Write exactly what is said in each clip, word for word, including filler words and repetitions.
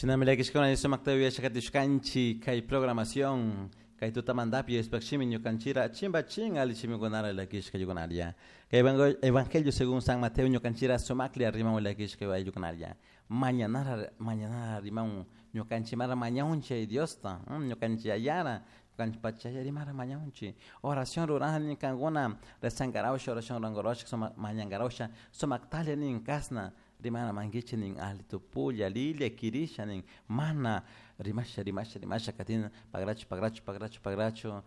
Shinami llakishkuna sumakta uyashakatishkanchik kay programación kay tutamantapi Diospaj shimi ñukanchira chimbachin alli shimikunara llakishka ayllikunaria. Kay Evangelio según San Mateo ñukanchira sumaklla riman llakishka ayllikunaria. Mañanara mañanara riman ñukanchik mara mañaunchik Diosta, ñukanchik yayara, ñukanchik pachaya rimara mañaunchik. Oración rurani kankuna rezangarawsha oración rurankarawsha sumak mañankarawsha sumaktalla nin kasna rimana mankichik nin alli tupulla lilla kirisha nin mana rimasha rimasha rimasha katina pagrachu pagrachu pagrachu pagrachu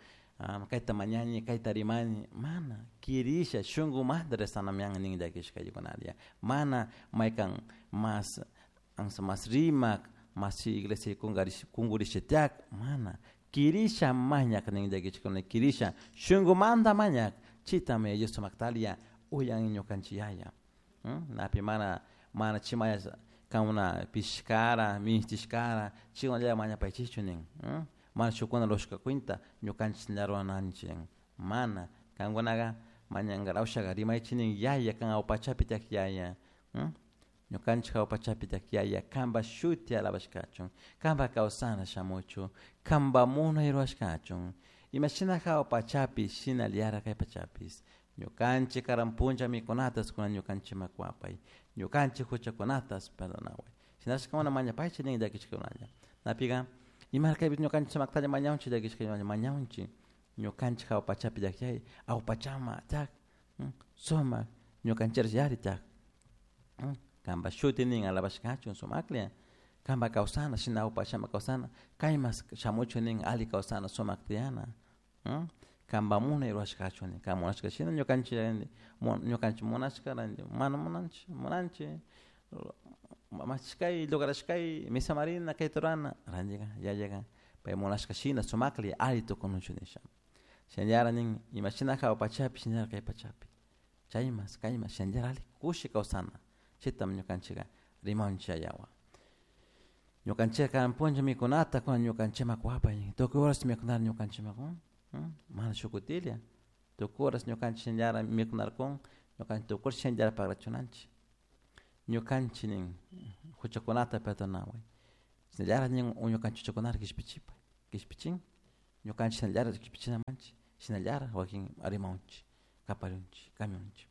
kayta mañani kayta rimani mana kirisha shunkumanta rezanamian nin llakishka ayllikunaria. Mana maykan mas ansa mas rimak mas iglesia kunkurisha tiyak mana kirisha mañak nin llakishkuna kirisha shunkumanta mañak chitami Dios sumaktalia uyan ñukanchik yaya. Napi mana mana chimaya kankuna pishkara mishtishkara chaykunalla mañapaychikchu nin mana shukkuna rurashka cuenta ñukanchik rurananchik mana kankunaka mañankarawshaka rimaychik nin yaya kan awa pachapi tiyak yaya ñukanchik awa pachapi tiyak yaya kanpak shuti alabashkachun kanpak kawsana shamuchun kanpak munay rurashkachun imashina hawa pachapi shinallara kay pachapish ñukanchik karan punlla mikunatas kunan ñukanchikman kuwapay ñukanchik huchakunatas perdonaway shinashka kankuna mañapaychik nin llakishkakunalla napika ima kaypi ñukanchik sumaktalla mañawunchik llakishka mañawunchik ñukanchik hawa pachapi tiyak yaya awa pachama tiyak sumak ñukanchik yari tiyak kanpak shuti nin alabashkachun sumaklla kanpak kawsana shina awa pachama kawsana kaymas shamuchun nin alli kawsana sumak tiyana kanpak munay rurashkachun nin kan munashka shina ñukanchik ñukanchik munashka mana munanchik munanchik mashkay lograshkay misamarina kayta rurana rantika yayaka pay munashka shina sumaklla alli tukunuchun nisha shinallara nin imashina hawa pachapi shinallara kay pachapi chaymas kaymas shinallara alli kushi kawsana chaytami ñukanchika rimanchik yayawan. Ñukanchik karan punlla mikunata kunan ñukanchikman kuwapay tukuy horas mikunara ñukanchikman kun mana shuk kutilla tukuy horas ñukanchik shinallara mikunarkun ñukanchik tukuy horas shinallara pagrachunanchik ñukanchik nin huchakunata perdonaway shinallara nin ñukanchik huchakunata kishpichipay kishpichin ñukanchik shinallara kishpichinamanchik shinallara wakin rimawanchik kaparunchik kamiunchik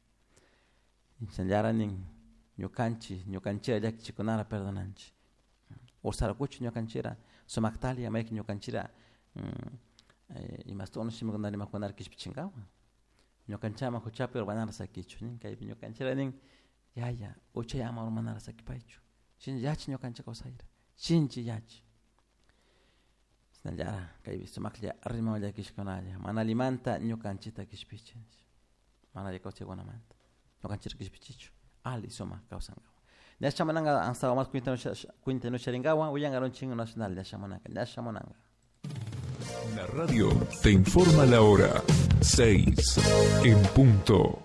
shinallara nin ñukanchik ñukanchira llakichikunara perdonanchik ursarakuchu ñukanchira sumaktalla maykan ñukanchira imashta shimikunata rimakunara kishpichinkawan ñukanchikama huchapi urmanara sakichu nin kaypi ñukanchira nin yaya uchay ama urmanara sakipaychu shinchi yachi ñukanchik kawsayra shinchi yachi shinallara kaypi sumaklla rimawan llakishkunalla mana allimanta ñukanchikta kishpichi mana alli kawsaykunamanta ñukanchikta kishpichichu alli sumak kawsankawan ñashamunanka ansawa mas cuentanusharinkawan willankarunchin nacional ñashamunanka ñashamunanka. La radio te informa la hora seis en punto.